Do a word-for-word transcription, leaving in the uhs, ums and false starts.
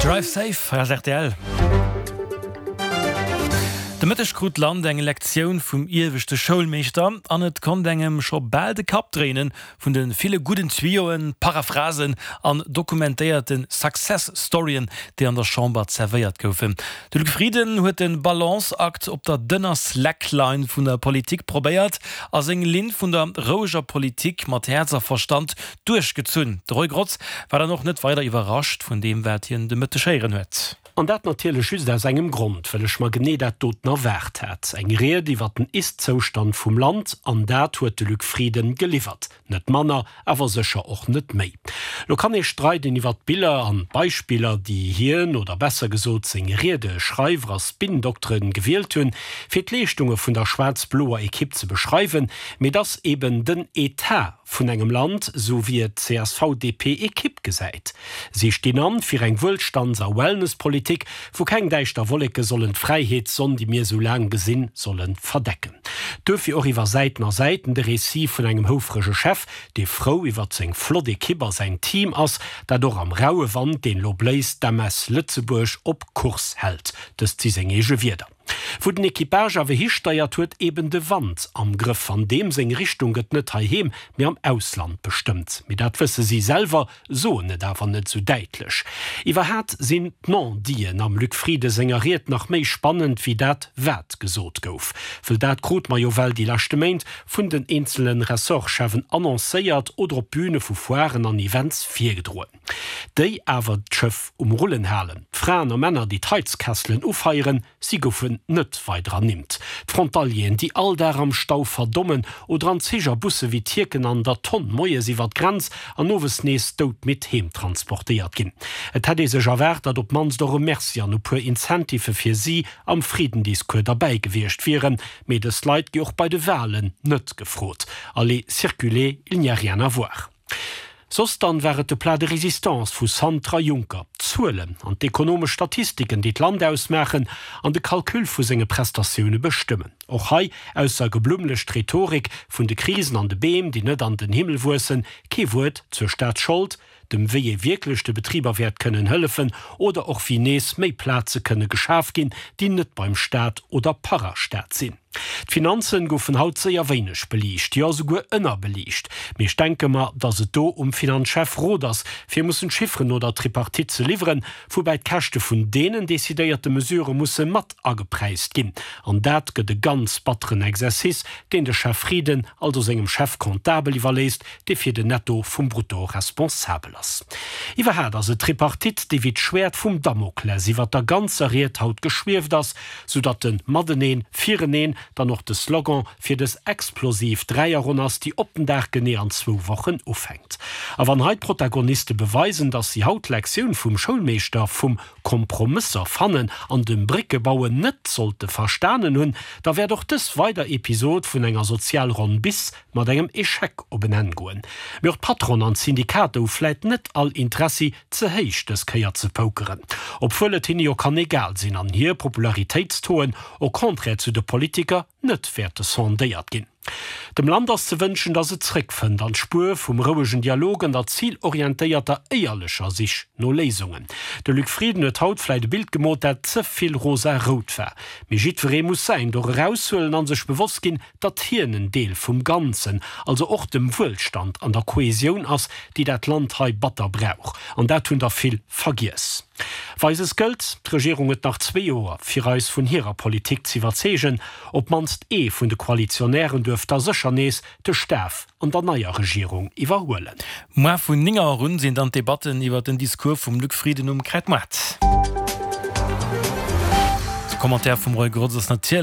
Drive safe hei ass rtl. De Mëtteg krut d'Land eng Lektioun vum ieweschte Schoulmeeschter an et konnt engem scho bal de Kapp dréinen vun de ville gudden Tuyauen, Paraphrasen an dokumentéierte Success Storyen, déi an der Chamber zerwéiert goufen. De Luc Frieden huet de Balanceakt op der dënner Slackline vun der Politik probéiert a seng Linn vun der roueger Politik mat Häerz a Verstand duerchgezunn. De Roy Grotz war dann och net weider iwwerrascht vun deem, wat hien de Mëtteg héieren huet. An dat natierlech just aus engem Grond, well ech mer genee dat doten erwaart hat. Eng Ried iwwer den Ist-Zoustand vum Land, an dat huet de Luc Frieden geliwwert. Net manner, awer sécher och net méi. Lo kann ee streiden iwwer d'Biller an d'Beispiller, déi hien, oder besser gesot seng Riedeschreiwer a Spin-Dokteren, gewielt hunn, fir d'Leeschtunge vun der schwaarz-bloer Ekipp ze beschreiwen, mee et ass eben den Etat vun engem Land, sou wéi et d'CSV-DP-Ekipp gesäit. Si stinn an fir eng Wuelstands a Wellnesspolitik, wou keng däischter Wolleke sollen d'Fräiheetssonn, déi mir sou laang gesinn, solle verdecken. Duerfir och iwwer Säiten a Säiten de Récit vun engem houfrege Chef, dee frou iwwer seng flott Ekipp a säin Team ass, dat och am raue Wand, deen lo bléist, d'MS Lëtzebuerg op Kurs hält. Dëst si seng eege Wierder. Wou den Equipage awer histeiert, huet eben de Wand am Grëff, an deem seng Richtung gëtt net heiheem, mee am Ausland bestëmmt. Mee dat wësse si selwer, soen et awer net sou däitlech. Iwwerhaat sinn d'Non-Diten am Luc Frieden senger Ried nach méi spannend wéi dat wat gesot gouf. Wëll dat krute mer jo well déi leschte Méint vun den eenzele Ressortscheffen annoncéiert oder op Büne vu Foiren an Events virgedroen. Déi awer d'Schëff um Rullen halen, d'Fraen a Männer, déi d'Heizkesselen ufeieren, si goufen net weider ernimmt. D'Frontalieren, déi all Dag am Stau verdommen oder an Zich a Busse wéi Tierken an der Tonn moies iwwer d'Grenz an owes nees doudmidd heem transportéiert ginn. Et hätt ee sech erwaart, datt op d'mannst och e Merci an e puer Incentivë fir si am Frieden-Discours derbäi gewiescht wieren. Mee dës Leit gi och bei de Walen net gefrot. Allez, circulez, il n'y a rien à voir. Soss dann war et de Plat de résistance vu Santer a Juncker, d'Zuelen an d'ekonomesch Statistiken, déi d'Land ausmaachen an de Calcul vu senge Prestatioune bestëmmen. Och hei, ausser geblummlecht Rhetorik vun de Krisen an de Beem, déi net an den Himmel wuessen, kee Wuert zur Staatsschold, dem wéi ee wierklech de Betriber wäert kënnen hëllefen oder och wéi nees méi Plaze kënne geschaf ginn, déi net beim Staat oder Parastaat sinn. D'Finanzen goufen haut séier wéineg beliicht, jo souguer ënnerbeliicht. Mee ech denke mer, datt et do um Finanzchef Roth ass, fir mussen d'Chifferen no der Tripartite ze liwweren, woubäi d'Käschte vun deenen decidéierte Mesurë musse mat agepräist ginn. An dat gëtt e ganz batteren Exercice, deen de Chef Frieden also sengem Chef comptable iwwerléisst, dee fir den Netto vum Brutto responsabel ass. Iwwerhaat ass et d'Tripartite, déi wéi d'Schwäert vum Damokles iwwer der ganzer Ried haut geschwieft ass, soudatt de Mateneen, Fireneen dann och de Slogan fir dës explosiv Dräierronn ass, déi op den Dag genee an zwou Wochen ufänkt. A wann hei d'Protagoniste beweisen, datt si haut d'Lektioun vum Schoulmeeschter vum Kompromësser fannen an dem Bréckebauen net sollte verstanen hunn, da wäert och dës weider Episod vun enger Sozialronn bis mat engem Echec op en Enn goen. Mee och d'Patronen an d'Syndikater hu vläit net all Interessi, ze héich dës Kéier ze pokeren, obwuel et hinne jo kann egal sinn an hir Popularitéitstauxen, au contraire zu de Politiker, net wäerte sondéiert ginn. Dem Land ass ze wënschen, datt et zréckfënnt an d'Spuer vum rouegen Dialog an der zilorientéierter, éierlecher Sich no Léisungen. De Luc Frieden huet haut vläit e Bild gemoolt, dat ze vill rosa-rout war. Mee jiddweree muss säin Dor eraushuelen a sech bewosst ginn, datt hien en Deel vum Ganzen, also och dem Wuelstand an der Kohesioun ass, déi dat Land hei batter brauch. An dat hunn der vill vergiess. Weises gëllt, D'Regierung huet nach zwee Joer, fir eis vun hirer Politik z'iwwerzeegen. Op d'mannst ee vun de Koalitionären duerf da sécher nees de Staf an der neier Regierung iwwerhuelen. Muer vun néng Auer un sinn dann d'Debatten iwwer den Discours vum Luc Frieden um Kräidmoart. De Commentaire vum Roy Grotz ass natierlech.